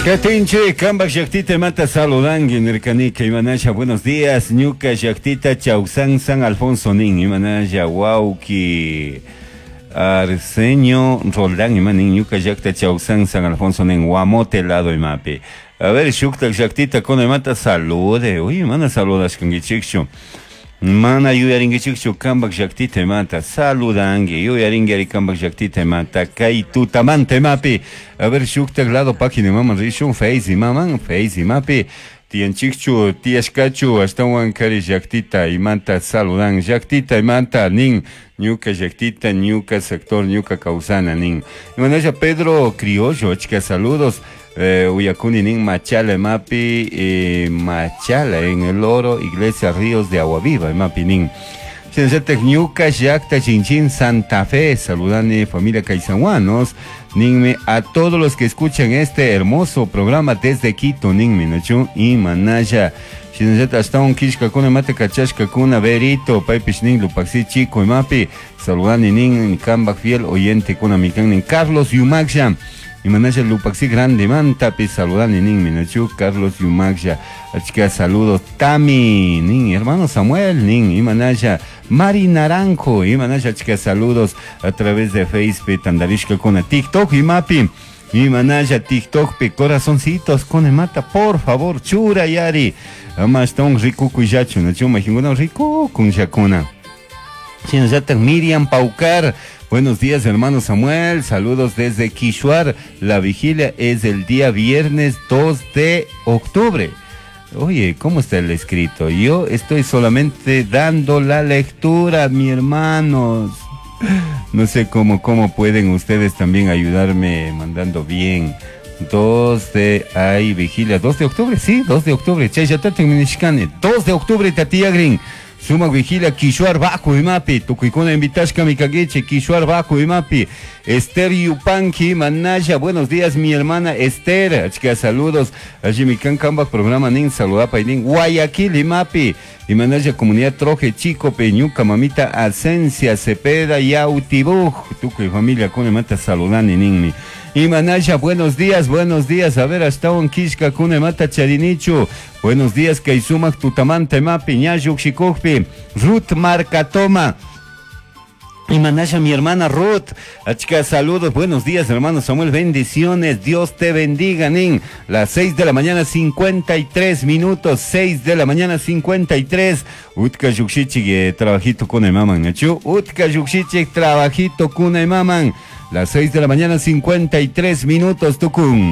Katinchi, kambak llaktita imata saludanki nirkanika imanasha buenos días ñuka llaktita Chausan San Alfonso nin imanasha wauki Arsenio Roldán imanin ñuka llakta Chausan San Alfonso nin Guamote lado imapi. A ver, shuktak llaktita kuna imata salude. Uy, mana saludashkankichikchu. Mana yuyarinkichikchu kambak llaktita imata saludanki yuyarinki ari kambak llaktita imata kay tutamanta imapi. A ver, shuktak lado página imaman rishun Face imaman Face imapi. Tiyanchikchu tiyashkachu ashtawan kari llaktita imanta saludan llaktita imanta nin ñuka llaktita ñuka sector ñuka kawsana nin. Imanasha Pedro Criollo achka saludos. Uyakuni nin Machala imapi Machala en el Oro Iglesia Ríos de Agua Viva imapi nin. Shinallatak ñuka llakta Chinchin Santa Fe saludani familia Caizahuanos ninmi a todos los que escuchan este hermoso programa desde Quito ninmi nachu imanalla. Shinallatak ashtawan killkakuna imata kachashkakuna Berito paypish nin Lupaxi Chico imapi saludani nin kambak fiel oyente kuna mikan nin Carlos Yumaksha imanasha Lupaxi grande mantapi saludani nin minachu Carlos Yumaksha achka saludos Tami nin hermano Samuel nin imanasha Mari Naranjo imanasha achka saludos a través de Facebook tandarishka kuna TikTok imapi imanasha TikTok pi corazoncitos con mata por favor chura yari ama ashtawan rikukuy nachu majinkuna rikukunllakuna. Shinallatak Miriam Paucar, buenos días hermano Samuel, saludos desde Quishuar, la vigilia es el día viernes 2 de octubre. Oye, ¿cómo está el escrito? Yo estoy solamente dando la lectura, mi hermanos. No sé cómo pueden ustedes también ayudarme mandando bien. 2 de, ay, vigilia, 2 de octubre, sí, 2 de octubre. Chayatatin minishkani, 2 de octubre, Tatiagrin. Sumak vigilia Quishuar Bajo imapi, tukuykuna invitashka mikankichik, Quishuar Bajo imapi, Esther Yupanqui, Manaya, buenos días mi hermana Esther, achka saludos, allí mi kan kambak programa nin saludapa nin Guayaquil imapi, y Manaya comunidad Troje Chico Peñuca, mamita Asencia Cepeda Yautibuj, tukuy familia kuna mata saludani ninmi. Y Manaya, buenos días, buenos días. A ver, hasta un kishka kuna mata charinichu. Buenos días, Kaisumak tutamanta mapi, ñayuk shikukpi, Ruth Marcatoma. Y Manaya, mi hermana Ruth, achka saludos, buenos días hermano Samuel, bendiciones, Dios te bendiga, nin. Las 6 de la mañana 53 minutos, 6 de la mañana 53. Utka yukshichik, trabajito kuna maman, nachu. Utka yukshichik, trabajito kuna maman. Las 6 de la mañana 53 minutos, tukun.